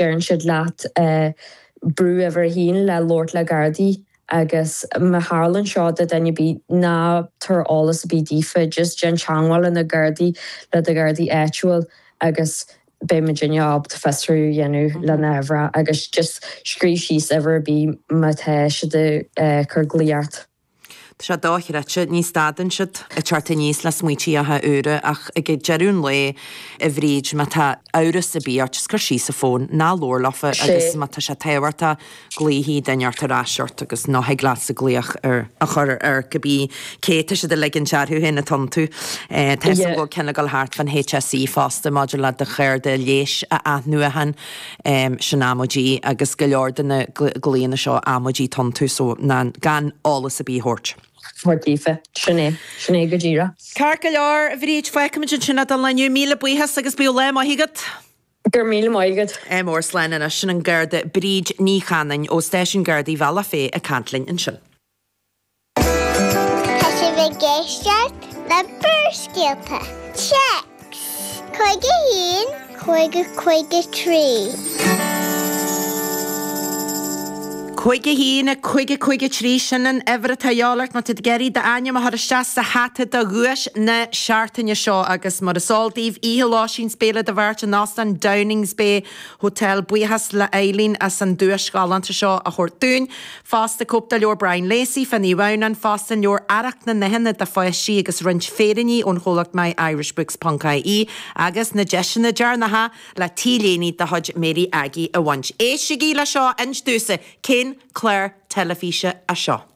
Deireann siad leat brú uimhir a haon le labhairt le Gardaí agus má tharlaíonn seo do duine ar bith, ná tabhair eolas ar bith daofa, just déan teangmháil le na Gardaí, le do Ghardaí áitiúil agus beidh muidinne ábalta fiosrú a dhéanamh le na huimhreacha agus just scríobh síos uimhir ar bith má tá siad ag cur glaoch ort. Tá sé dochreidte, ní stadann siad ag teacht aníos le smaoitíocha úra ach ag deireadh an lae, a Bhríd, má tá amhras ar bith ort, just cuir síos an fón, ná labhair leofa agus má tá sé tábhachtach, glaofaidh duine ort ar ais ort agus ná thig leatsa glaoch ar a chur ar cibé cé tá siad ag ligint orthu féin atá iontu. Tá a fhios agam go bhfuil ceann ag dul thart fán HSE fosta maidir le do chárta leighis a athnuachan. Sin amaidí agus go leor de na glaonna seo amaidí atá iontu so ná gan eolas ar bith a thabhairt. Thabhairt daofa. Sin é. Sin é go díreach. Ceart go leor, a Bhríd, fágfaimid ansin é don lá inniu. Míle buíochas agus bíodh lá maith agat. Go raibh míle maith agat. Ádh mór, slán anois. Sin an Garda Bríd Ní Chanainn ó Stáisiún Gardaí Bhealach Féich ag caint linn ansin. Tá sibh ag éisteacht le Barrscéalta. Téacs 51 50 53. 51 50 53 Sin an uimhir atá a dhíobháil ort má tá tú ag iarraidh d'ainm a chur isteach sa hata do dhuais na seachtaine seo agus mar is eol daoibh, oíche lóistín 's béile do bheirt in Óstán Downings Bay Hotel. Buíochas le Eileen as an duais ghalánta seo a thabhairt dúinn. Fosta, cóip de leabhar Brian Lacey fá Naomh Adhamhnán, fosta an leabhar Arracht na nDathanna do pháistí agus roinnt féiríní ón chomhlacht myirishbooks ponc ie agus na deiseanna deireanacha le T-léine de chuid Mary Aggie a bhaint. Éistigí le seo, inis domhsa, cén clár teilifíse é seo?